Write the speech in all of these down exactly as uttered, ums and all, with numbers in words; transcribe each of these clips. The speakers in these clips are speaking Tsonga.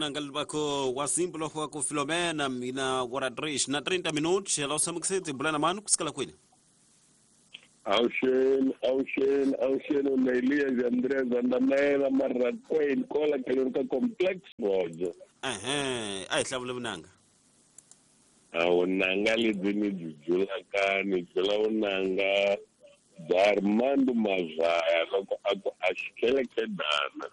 Vunanga libako wa simplo wa ku Filomena mina ora três na trinta minutos, ela osama que se bulana mano kusikala kwini. Awuxeni, awuxeni, awuxeni na Elias Andrés Andamela Marrakweni kola ka complex Rojo. Ehe, a hi hlavule vunanga. A vunanga lebyi ni byi byulaka ni byula vunanga bya Armando Mazaya loko a ku a xikelekedana.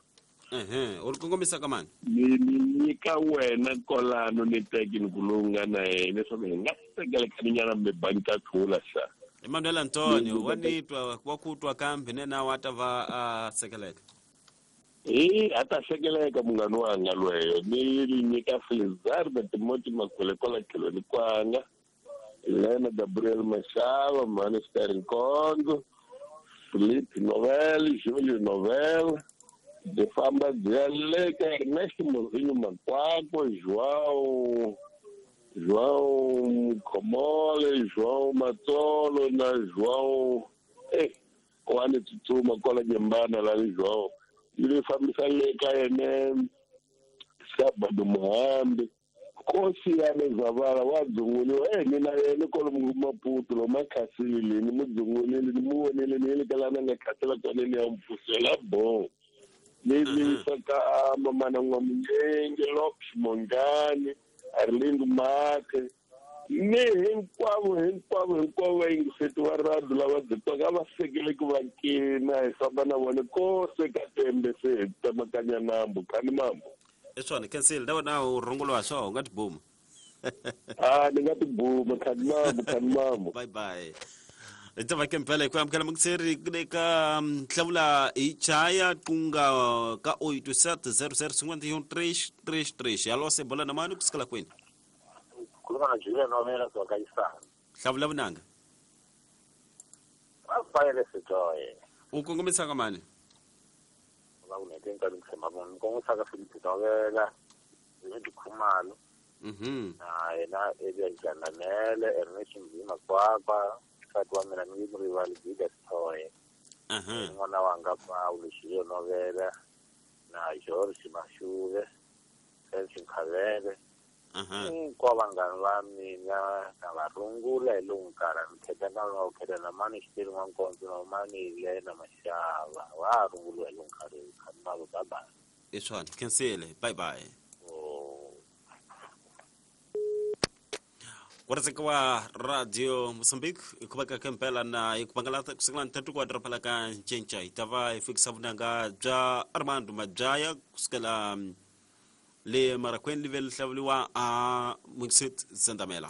Ehe, u ri kongomisa ka mani? Ni ni nyika wena kolano ni tekini lowu nga na yena leswaku hi nga sekelekaninyana mi banka tlula xa. Emmanuel Antonio wa ni twa wa ku twa kambe ne na wa ta va a sekeleka. Eh, a ta sekeleka munghana wanga lweyo. Ni nyika Felizardo Timothy Makhwele kwala tlhelweni kwanga. Elena Gabriel Mashava, Manister Nkonzo, Felipe Novel, Júlio Novel, de famba bya le ka Ernesto Mozinho Makwakwa, João João Khomole, João Matsolo na João eh wa ni tsutsuma kwala Nyembana la le João. Yi fambisa le ka yena Sabado Muhambi Nkosi ya le Zavala wa dzunguliwa eh ni na yena kwalomu Maputo lo makhasile ni mu dzungulile ni mu vonile ni le ka lana nga khasela kona ni ya mpfusela bo. Ni ni ka mamana N'wamunyenge Lopes Mongani Arlindo Make ni hinkwavo hinkwavo hinkwavo vayingiseti va radio lava byi twaka va sekele ku va kina hi famba na vona kose ka tembe se hi tsemakanya nambu khani mambu. I swona cancel na wena u rungula swo u nga tibuma. Ah, ni nga tibuma khani mambu khani mambu. Bye bye. Hi ta va kempela hi ku amukela mukiseri eka hlamula hi chaya kunga ka oito sete zero zero cinquenta e um três três três. Alô, cebola na mano kusikala kwini? Khuluma na Julia Novela kusuka ka Isana. Hlamula vunanga. Rafael Sitoye. U kongomisa ka mani? Va ku nete nkarhi ku tshemba munhu. Ni kongomisa ka Felipe Novela, David Khumalo. Mhm. Na yena Elias Jandamele, Ernest Mzima Kwakwa, nsati wa mina ni rivali Gida Sitoye. Aha. N'wana wanga Paulo Julia Novela na George Mashuve, Felix Nkhavele. Aha. Hinkwavo vanghana va mina na va rungula hi lowu nkarhi ni kheta na va kheta na mani xiteri n'wankondzo na mani Lena Mashava wa runguliwa hi lowu nkarhi khani mavo bye bye. I swona khensile bye bye. Oh. Ku wa Radio Mozambique hi ku veka kempela na hi ku bangalata kusukela nthatu ku doroba la ka Ncinca hi ta va hi fikisa vunanga bya Armando Madyaya kusukela le Marakweni live ri hlawuriwa a Mukset Zandamela.